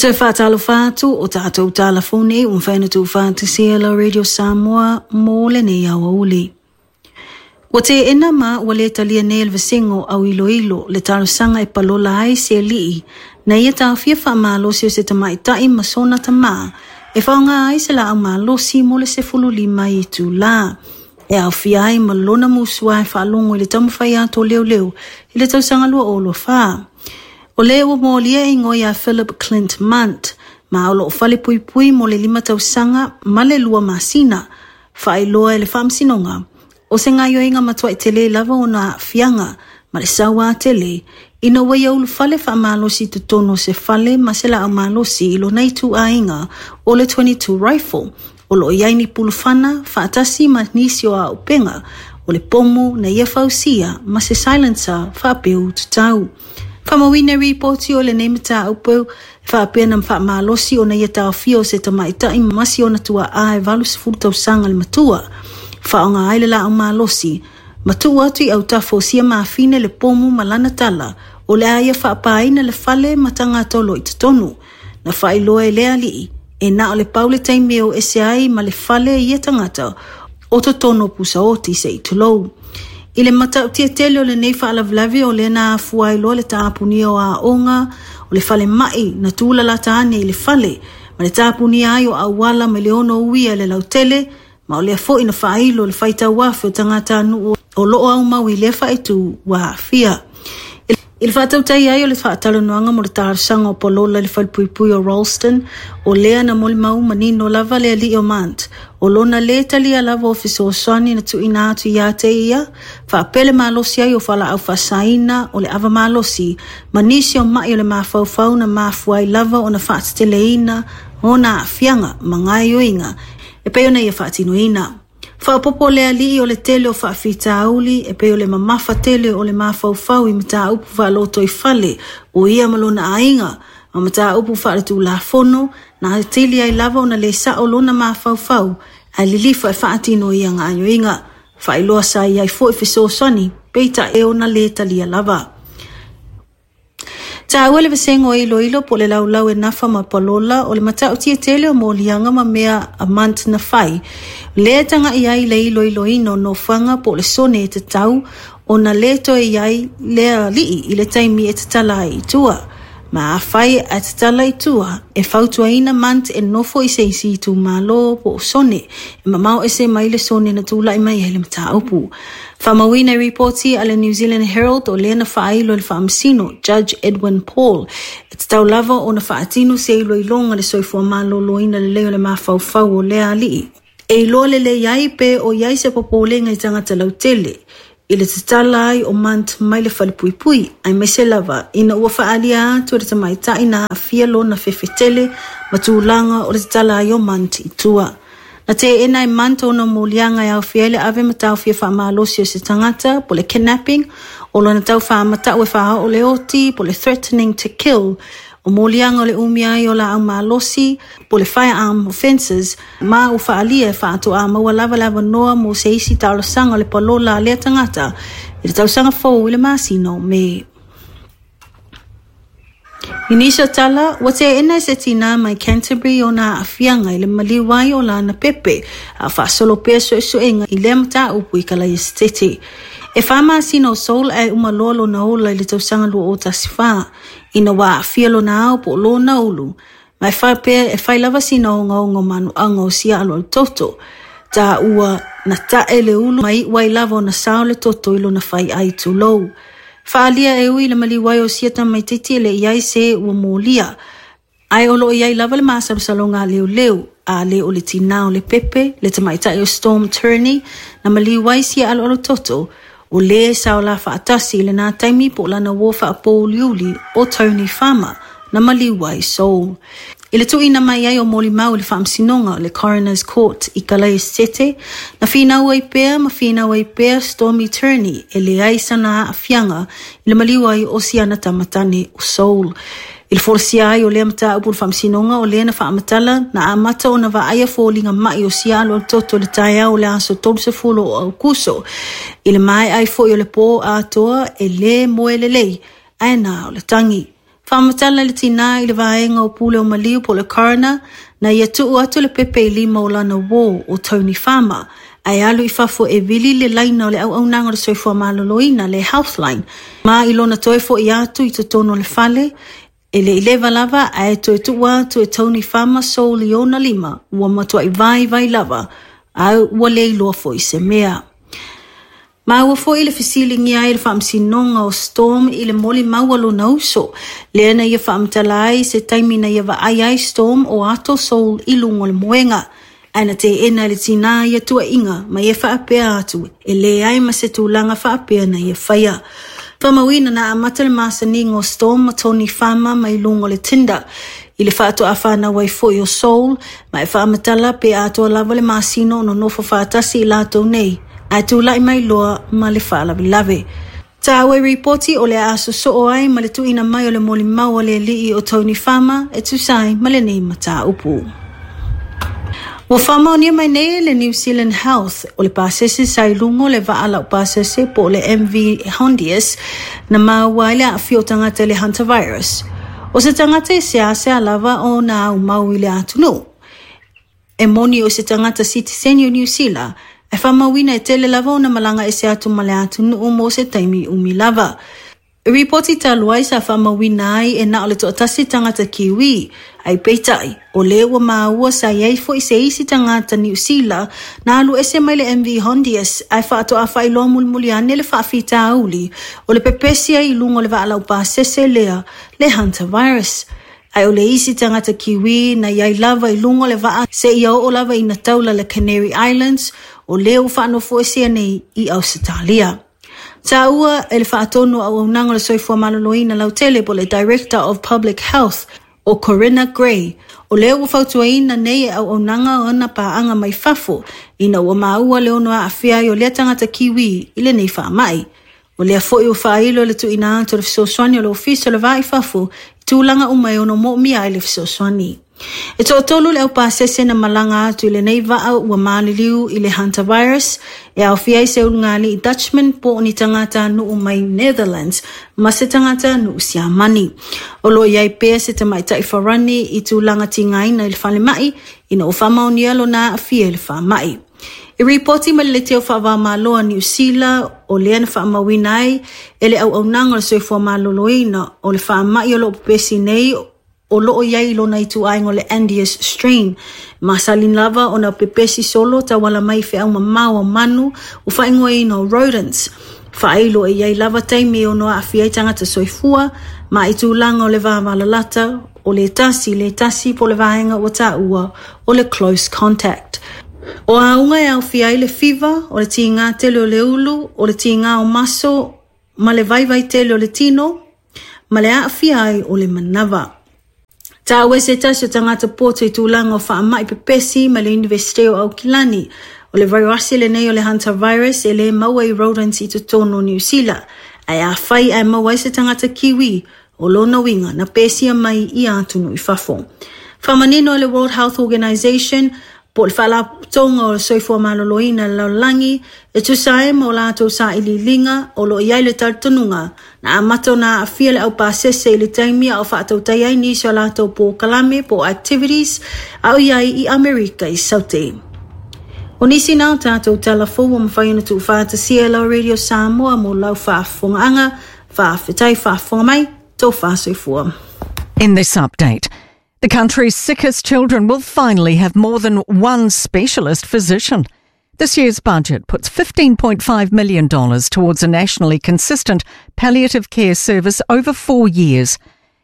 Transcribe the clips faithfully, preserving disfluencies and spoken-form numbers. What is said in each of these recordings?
Toe faatalofa atu o tatou tala fou nei ua mafai ona tuufaatasia la Radio Samoa mo lenei aoauli. Ua teena ma ua lē talia nei e le vasega o auiloilo le talosaga e palola ai se alii na ia taofia faamalosi o se tamaʻitaʻi ma sona tamā e faaaogā ai se laau malosi mo le sefulu lima itulā e aofia ai ma lona musuā e faalogo i le taumafai atu o leoleo i le tausaga lua o lua fā. O lē ua molia e igoa iā Philip Clint Munt, ma o loo fale puipui mo le lima tausaga ma le lua masina, faailoa e le faamasinoga. O se gaoioiga matuai telē lava ona aafiaga ma le sauā tele ina ua ia ulufale faamalosi i totonu o se fale ma se laau malosi i lona ituaiga o le twenty-two rifle o loo i ai ni pulufana faatasi ma nisi o auupega o le pomu na ia fausia ma se silencer faapeu tatau. Faamauina ripoti o lenei mataupu e faapea na faamalosi ona ia taofia o se tamaʻitaʻi ma si ona tuaā e valu sefulu tausaga le matua faaaoga ai le laau malosi ma tuu atu i autafa o sia mafine le pomu ma lana tala o le a ia faapāina le fale ma tagata o loo i totonu. Na faailoa e le alii e na o le pau le taimi e o ese ai ma le fale ia tagata o totonu o pusaoti se i tulou. I le matautia tele o lenei faalavelave o lea na afua ai loa le tapunia o aoga o le fale mai na tulalata ane i le fale ma le tapunia ai o auala ma le ono uia le lautele ma o lea foi na faailo le faitau afe o tagatanuu o loo aumau i lea faaitu ua aafia. I le faatautai ai o le faatalanoaga mo le talosaga o palola i le falepuipui o Rolleston, o lea na molimau manino lava le alii o Mant, o lona lē talia lava o fesoasoani na tuuina atu iā te ia, faapea le malosi ai o falaau faasaina o le ava malosi, ma nisi o mai o le mafaufau na mafua ai lava ona faateteleina ona aafiaga ma gaoioiga e pei ona ia faatinoina. Faaopoopo le alii o le tele o faafitauli e pei o le mamafa tele o le mafaufau i mataupu faalotoifale o ia ma lona aiga ma mataupu faaletulafono na atili ai lava ona lē sao lona mafaufau ae lilifa e faatino ia gaoioiga. Faailoa sa i ai foi fesoasoani peitai e ona lē talia lava. Taua le vasega o iloilo po le laulau e nafa ma palola o le matautia tele o moliaga ma mea a Munt na fai. Lea taga'i ai le iloiloina o nofoaga po o le sone e tatau ona lē toe i ai lea alii i le taimi e tatala ai i tua. Ma afai ae tatala i tua, e fautuaina Munt e nofo i se isi itumālō po o sone e mamao ese mai le sone na tulaʻi mai ai le mataupu. Faamauina i ripoti a le New Zealand Herald o lea na faailo e le faamasino Judge Edwin Paul e tatau lava ona faatino se iloiloga le soifua malōlōina lelei o le mafaufau o lea alii. E iloa lelei ai pe o i ai se popolega i tagata lautele i le tatala ai o Munt mai le falepuipui aemaise lava ina ua faaalia atu e le tamaʻitaʻi na aafia lona fefetele ma tulaga o le tatala ai o Munt i tua. Na teena e Munt ona moliaga e aofia ai le ave ma taofia faamalosi o se tagata po le kidnapping o lona tau faamatau e faaoo le oti po le threatening to kill o moliaga o le umia ai o laau malosi po le firearm offences ma ua faaalia e faatoā maua lava le avanoa mo se isi talosaga o le palola a lea tagata i le tausaga fou i le masina o Me. I nisi o tala, ua teena e se tinā mai Canterbury ona aafiaga i le maliu ai o lana pepe a faasolo pea suesuega i lea mataupu i Kalaesetete. E whā masina o Soul ae uma loa lona ola i le tausaga lua o tasi whā, ina ua aafia lona ao po o lona ulu, ma e faapea e fai lava sina ogaoga o manuaga o sia aloalo toto. Taua na tae le ulu ma iu ai lava ona sao le toto i lona fai ai tulou. Faaalia e ui le maliu ai o sia tamaititi e le i ai se ua molia. Ae o loo i ai lava le masalosaloga a leoleo, a le o le tinā o le pepe, le tamaʻitaʻi o Storm Turney, na maliu ai sia aloalo toto, o lē sa ola faatasi i lenā taimi po o lana uō faapouliuli o Tony Farmer, na maliu ai Soul. I le tuuina mai ai o molimau i le faamasinoga o le Coroner's Court i Kalaesetete, na finau ai pea ma finau ai pea Stormy Turney e leai sana aafiaga i le maliu ai o siana tamatane o Soul. I le folasia ai o lea mataupu i le faamasinoga o lea na faamatala na amata ona vaaia foliga mai o sia aloalo toto i le taeao o le aso tolusefulu o Aukuso. I le maea ai foi o le pō atoa e lē moe lelei ae na o le tagi. Faamatala le tinā i le vaega o pule o maliu po o le coroner na ia tuu atu le pepe i lima o lana uō o Tony Farmer ae alu i fafo e vili le laina o le auaunaga o le soifua maloloina le Healthline. Ma i lona toe fo'i atu i totonu o le fale, e le i leva lava ae toe tuu atu e Tony Farmer Saul i ona lima ua matuai vaivai lava a ua le iloa foi se mea. Maua foi le fesiligia ai le faamasinoga o Storm i le molimau a lona uso, lea na ia faamatala ai se taimi na ia vaai ai Storm o ato Saul i luga o le moega. Ae na teena e le tinā ia tuuaiga ma ia faapea atu e leai ma se tulaga faapea na ia faia. Faamauina na amata le masaniga o Storm ma Tony Farmer mai luga o le Tinder i le faatoa fanau ai foi o Saul ma e faamatala pe atoa lava le masina o nonofo faatasi i latou nei ae tulai mai loa ma le faalavelave. Taua i ripoti o le a sosoo ai ma le tuuina mai o le molimau a le alii o Tony Farmer e tusa ai ma lenei mataupu. Ua faamaonia mai nei le New Zealand Health o le pasese sa i luga o le vaa laupasese po o le M V Hondius na maua ai le aafia o tagata i le hantavirus. O se tagata e seasea lava ona aumau i le atunuu. E moni o se tagata sitiseni o Niu Sila, ae faamauina e tele lava ona malaga ese atu ma le atunuu mo se taimi umi lava. Ripoti talu ai sa faamauina ai e na o le toatasi tagata Kiwi, ae peitai, o lea ua maua sa i ai foi se isi tagata Niu Sila na alu ese mai le M V Hondius ae faatoa faailoa mulimuli ane le faafitauli o le pepesi ai i luga o le vaa laupasese lea le hantavirus. Ae o le isi tagata Kiwi na i ai lava i luga o le vaa seia oo lava ina taula le Canary Islands o lea ua faanofoesea nei i Ausetalia. Taua e le faatonu o auaunaga o le soifua maloloina lautele po le Director of Public Health o Corinna Gray, o lea ua fautuaina nei e auaunaga ona paaga mai fafo ina ua maua le ono aafia ai o lea tagata Kiwi i lenei faamai. O lea foi ua faailo le tuuina atu o le fesoasoani o le Ofisa o le Va i Fafo i tulaga uma e ono moomia ai le fesoasoani. E toatolu le aupasese na malaga atu i lenei vaa ua maliliu i le hantavirus e aofia ai se ulugalii Dutchman po o ni tagata nuu mai Netherlands ma se tagata nuu Siamani. O lo o i ai pea se tamaitai Farani i tulaga tigaina i le falemai ina ua faamaonia lona aafia i le faamai. I ripoti mai le leitio faava-o-Malo a Niu Sila o lea na faamauina ai e le auaunaga o le soifua maloloina o le faamai o lo o pepesi nei o lo o i ai i lona ituaiga o le Andes strain. Masani lava ona pepesi solo tauala mai i feau mamao a manu ua faaigoaina o rodents. Faailo e i ai lava taimi e ono aafia ai tagata soifua ma i tulaga o le vavalalata o le tasi le tasi po o le vaega ua taua o le close contact. O auga e aofia ai le fiva, o le tigā tele o le ulu, o le tigā o maso, ma le vaivai tele o le tino, ma le aafia ai o le manava. Taua e se tasi o tagata poto i tulaga o faamai pepesi ma le Iunivesite o Aukilani. O le vairasi lenei o le hantavirus e le maua i rodents i totonu o Niu Sila. Ae afai ae maua ai se tagata Kiwi, o lona uiga na pesia mai i atunuu i fafo. Faamanino e le World Health Organization po o le Faalapotopotoga o le Soifua Maloloina i le lalolagi e tusa ai ma o latou sailiiliga o lo o i ai le talitonuga na amata ona aafia le aupasese i le taimi a o faatautai ai nisi o latou polokalame po o activities a o i ai i Amerika i Saute. O nisi na o tatou tala fou ua mafai ona tuufaatasia e lau Radio Samoa mo lau faafofogaaga faafetai faafofoga mai tofa soifua. In this update, the country's sickest children will finally have more than one specialist physician. This year's budget puts fifteen point five million dollars towards a nationally consistent palliative care service over four years.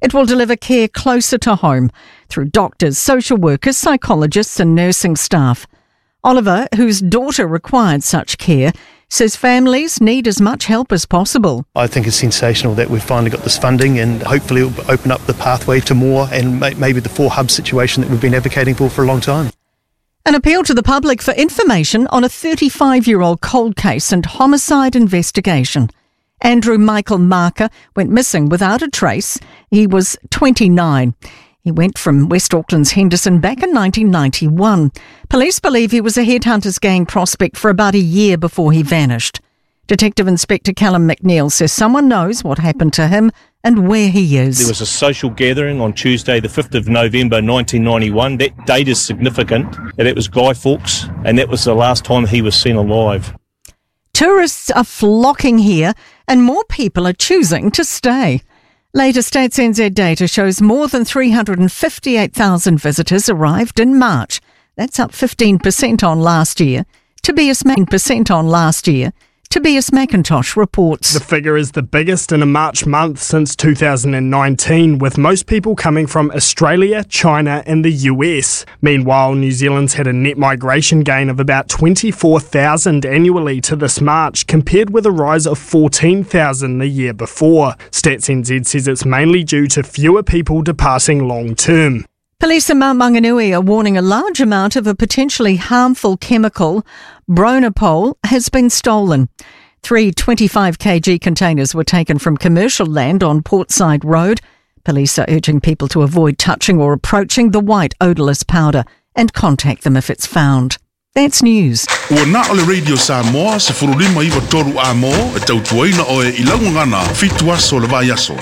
It will deliver care closer to home through doctors, social workers, psychologists, and nursing staff. Oliver, whose daughter required such care, says families need as much help as possible. I think it's sensational that we've finally got this funding, and hopefully it'll open up the pathway to more and maybe the four hub situation that we've been advocating for for a long time. An appeal to the public for information on a thirty-five year old cold case and homicide investigation. Andrew Michael Marker went missing without a trace. He was twenty-nine. He went from West Auckland's Henderson back in nineteen ninety-one. Police believe he was a Headhunters gang prospect for about a year before he vanished. Detective Inspector Callum McNeil says someone knows what happened to him and where he is. There was a social gathering on Tuesday, the fifth of November nineteen ninety-one. That date is significant. And it was Guy Fawkes, and that was the last time he was seen alive. Tourists are flocking here and more people are choosing to stay. Latest Stats N Z data shows more than three hundred fifty-eight thousand visitors arrived in March. That's up fifteen percent on last year. Tobias percent on last year. Tobias McIntosh reports. The figure is the biggest in a March month since two thousand nineteen, with most people coming from Australia, China and the U S. Meanwhile, New Zealand's had a net migration gain of about twenty-four thousand annually to this March, compared with a rise of fourteen thousand the year before. Stats N Z says it's mainly due to fewer people departing long term. Police in Mount Maunganui are warning a large amount of a potentially harmful chemical, bronopol, has been stolen. Three twenty-five kilogram containers were taken from commercial land on Portside Road. Police are urging people to avoid touching or approaching the white odourless powder and contact them if it's found. That's news. Ua na ole Radio Samoa, se furulima iwa toru a mo, e tautuaina oe i laungana, fitu aso le vai aso.